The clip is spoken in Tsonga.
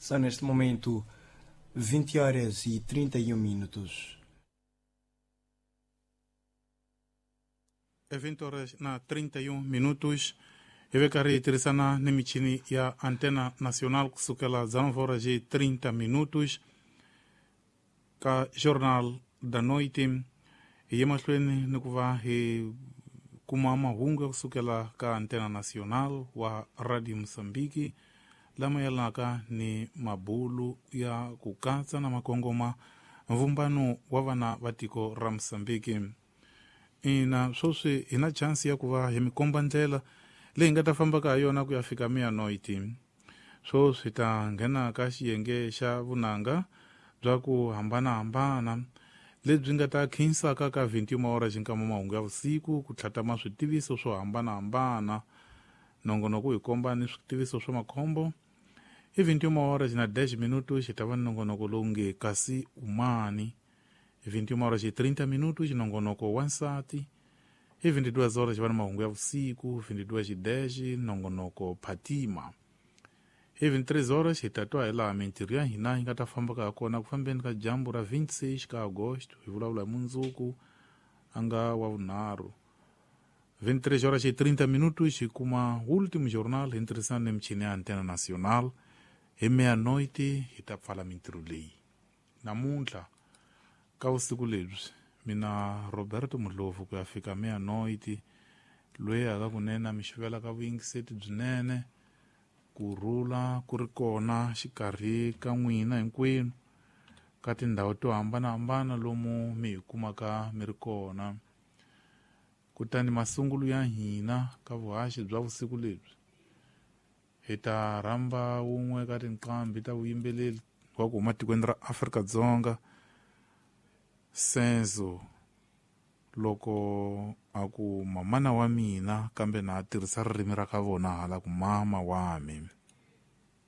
São neste momento 20 horas e 31 minutos. É 20 horas na 31 minutos. Hi tirhisana ni michini ya Antena Nacional kusukela 19 horas e 30 minutos ka Jornal da Noite. Hi ye mahlweni ni ku va hi kuma mahungu ya kusukela ka Antena Nacional wa Radio Mozambique lama yelanaka ni mabulu ya ku katsa na makongoma mvumbano wa vana va tiko ra Mozambique. Ina sweswi hi na chance ya ku va hi mi komba ndlela leyi nga ta fambaka ha yona ku ya fika miyanoiti. Sweswi ta nghena ka xiyenge xa vunanga bya ku hambanahambana lebyi nga ta khinsaka ka 21 awara xinkama mahungu ya vusiku ku tlhatama switiviso swo hambanahambana. Nongonoko hi komba ni switiviso swa makhombo. Hi 21 awara xi na 10 minuto xi ta va ni nongonoko lowu nge kasi umani. Hi 21 horas e 30 minutos nongonoko wansati. Hi 22 horas va ni mahungu ya vusiku. 22:10 nongonoko Phatima. Hi 23 horas hi ta twa hi laha mintirho ya hina yi nga ta fambaka ha kona ku fambeni ka dyambu ra 26 ka Agosto. Hi vulavula hi mundzuku a nga wa vunharhu. 23 horas e 30 minutos hi kuma Último Jornal hi ntirhisano ni michini ya Antena Nacional. Hi meia-noite hi ta pfala mintirho leyi. Namuntlha ka vusiku lebyi mina Roberto Mudlovu ku ya fika meia-noite loyi aka kunene mi xivela ka vuyingiseti byinene ku rhula ku ri kona xikarhi ka n'wina hinkwenu ka tindhawu to hambanahambana lomu mi hi kumaka mi ri kona. Kutani masungulo ya hina ka vuhaxi bya vusiku lebyi hi ta rhamba wun'we ka tinqambi ta vuyimbeleri wa ku huma tikweni ra Afrika-Dzonga, Senzo, loko a ku mamana wa mina kambe na tirhisa ririmi ra ka vona hala ku mama wa mi.